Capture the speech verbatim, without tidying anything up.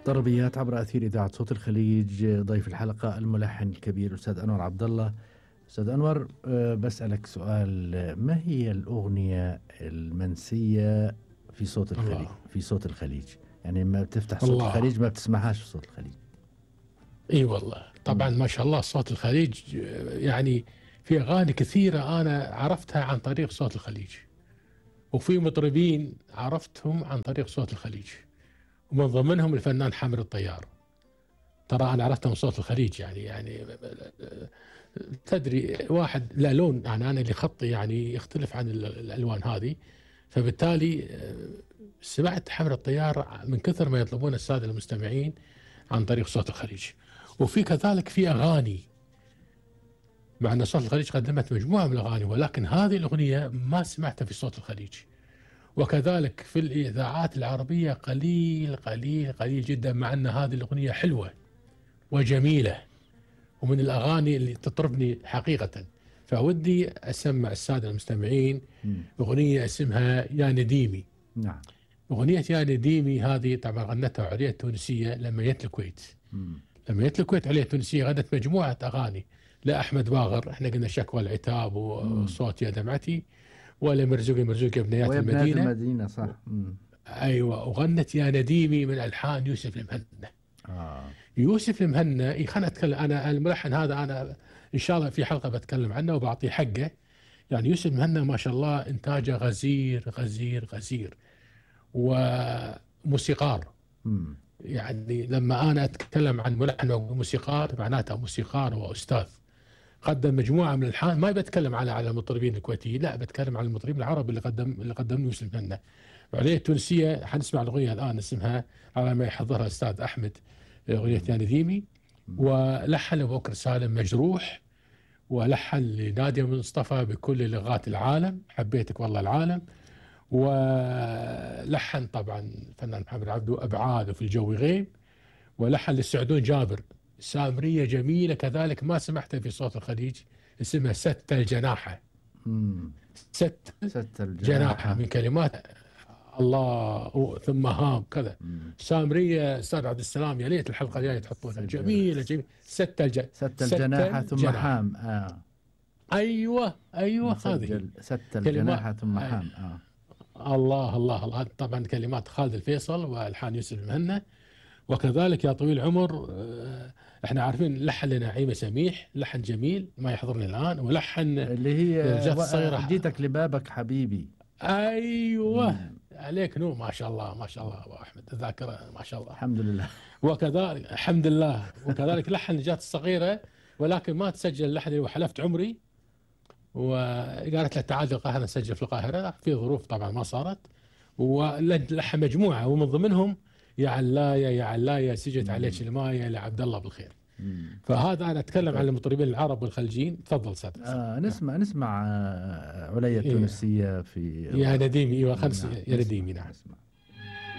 طربيات عبر أثير إذاعة صوت الخليج. ضيف الحلقة الملحن الكبير الأستاذ أنور عبد الله. أستاذ أنور، بسألك سؤال، ما هي الأغنية المنسية في صوت الخليج؟ الله. في صوت الخليج، يعني ما بتفتح صوت الله. الخليج ما بتسمعهاش في صوت الخليج. اي والله طبعا م. ما شاء الله صوت الخليج، يعني في أغاني كثيرة أنا عرفتها عن طريق صوت الخليج، وفي مطربين عرفتهم عن طريق صوت الخليج، ومن ضمنهم الفنان حامد الطيار. ترى أنا عرفته من صوت الخليج، يعني يعني تدري واحد لا لون، يعني أنا اللي خطي يعني يختلف عن الألوان هذه، فبالتالي سمعت حامد الطيار من كثر ما يطلبون السادة المستمعين عن طريق صوت الخليج. وفي كذلك في أغاني، مع أن صوت الخليج قدمت مجموعة من الأغاني، ولكن هذه الأغنية ما سمعتها في صوت الخليج. وكذلك في الإذاعات العربية قليل قليل قليل جدا، مع أن هذه الأغنية حلوة وجميلة ومن الأغاني اللي تطربني حقيقة. فودي أسمع السادة المستمعين أغنية اسمها يا نديمي. نعم. أغنية يا نديمي هذه طبعا غنتها علية التونسية لما جت الكويت. مم. لما جت الكويت علية التونسية غنت مجموعة أغاني، لا أحمد باغر، احنا قلنا شكوى العتاب وصوت يا دمعتي، ولا مرزوقي مرزوقي ابنيات المدينة. المدينة صح. مم. أيوة. وغنت يا نديمي من ألحان يوسف المهنا. آه. يوسف المهنا خلنا أتكلم، أنا الملحن هذا أنا إن شاء الله في حلقة بتكلم عنه وبعطيه حقه. يعني يوسف المهنا ما شاء الله إنتاجه غزير غزير غزير، وموسيقار. مم. يعني لما أنا أتكلم عن ملحن وموسيقار معناته موسيقار وأستاذ. قدم مجموعة من الألحان، ما بتكلم على على المطربين الكويتيين، لا بتكلم عن المطربين العرب اللي قدم اللي قدم يوسف المهنا. وعليه التونسية حنسمع الأغنية الآن اسمها على ما يحضرها الأستاذ أحمد، أغنية يا نديمي. ولحن أبو بكر سالم مجروح، ولحن لنادية مصطفى بكل لغات العالم حبيتك والله العالم، ولحن طبعا الفنان محمد عبده أبعاد وفي الجو غيب، ولحن للسعدون جابر سامرية جميلة كذلك ما سمعتها في صوت الخليج اسمها ست الجناحة. مم. ست, ست الجناحة جناحة من كلمات الله ثم هام كذا. سامرية أستاذ عبد السلام يا ليت الحلقة الجاية تحطونها، جميلة جميلة. ست الج... ست الجناحة ثم جناح. حام. آه. أيوة أيوة هذه ست الجناحة ثم حام. آه. الله الله الله. طبعا كلمات خالد الفيصل والحان يوسف المهنا. وكذلك يا طويل العمر احنا عارفين لحن لنعيمة سميح، لحن جميل ما يحضرني الآن، ولحن اللي هي و... جيتك لبابك حبيبي. أيوة. مم. عليك نور ما شاء الله ما شاء الله أبو أحمد، الذاكرة ما شاء الله الحمد لله. وكذلك الحمد لله. وكذلك لحن نجاة الصغيرة، ولكن ما تسجل اللحن اللي وحلفت عمري، وقالت له تعال القاهرة نسجل في القاهرة، في ظروف طبعا ما صارت. ولحن مجموعة ومن ضمنهم يا علاية يا علاية سجت عليك الماية لعبد الله بالخير. مم. فهذا أنا أتكلم عن المطربين العرب والخليجيين. تفضل سادة. آه نسمع نسمع آه علية التونسية في يا نديمي. ايوه خمس يا نديمي. نعم.